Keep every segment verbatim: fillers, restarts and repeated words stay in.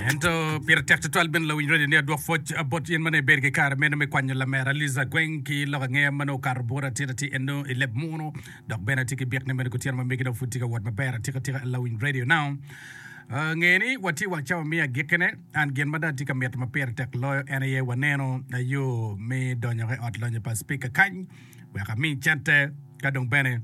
Ento pire tek tutwal bene lawiny radio ni adwok pwoc bot in ma nongo ibedo ki kare meno me kwanyo lamera Liza Gweng ki lok angeya ma nongo okato bota atir atir eno i leb munu dok bene atye ki byek ni meno kutyeno ma megi dong pud tye ka wot maber atika tika lawiny radio now. Uh, nge ni watye wang cawa me agikkine an gin ma dong atye ka mito ma pire tek loyo en aye waneno yo me donyo i ot lonyo pa speaker kany wek ami cente ka dong bene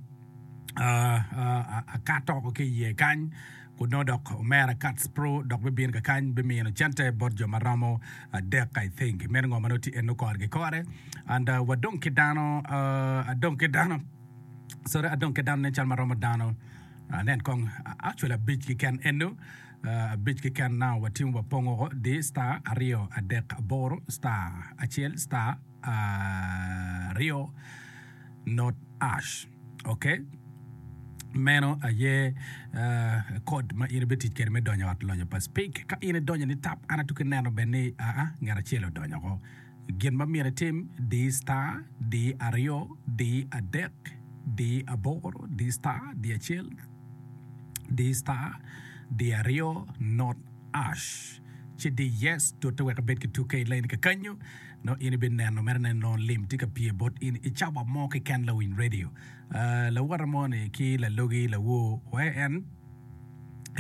uh, uh, akato oko ki iye kany kun nongo dok omera Cats Pro dok bibino kakany bimino cente bot jo ma romo adek I think meno ngo ma nongo tye eno kore ki kore and uh, wadong ki dano uh, adong ki dano sorry adong ki dano nen cal ma romo dano uh, nen kong actually abic keken eno uh, abic keken now watimo wapongo oko di star aryo adek aboro star acel star aryo not hash okay meno aye uh, code ma in ibitic kwede me donyo ot lonyo pa speak ka in idonyo ni tap an atuki neno bene ni aa ngat acel odonyo oko gin ma myero itim di star di aryo di adek di aboro di star di acel di star di aryo not hash ci di yes tute wek ibed ki tuke i line kakanyo no in ibineno mere neno lim tye ka pye bot in i cawa mo keken lawiny radio uh, lawota mo ni ki lalogi lawo we en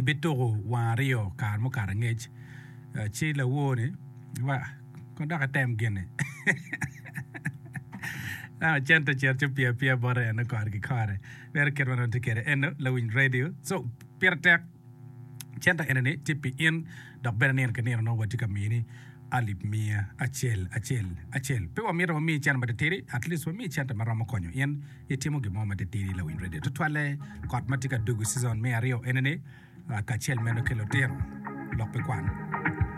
ibituko wang aryo kare mukato angec uh, ci lawo ni wa kon dok item gini Ah, cente cer ci pye apye bote eno kore ki kore meno kit ma nongo tye kwede eno lawiny radio so pire tek cente eni ni tye pi in dok bene nino ki nino nongo watye ka mini alip miya acel acel acel pe wamito wamiyi cente matitidi at least wamiyi cente ma romo konyo in itimo gin mo matitidi lawiny radio tutwalle kot ma tye ka dugo season me aryo eni ni uh, kacel meno ki lutino lok pi kwan.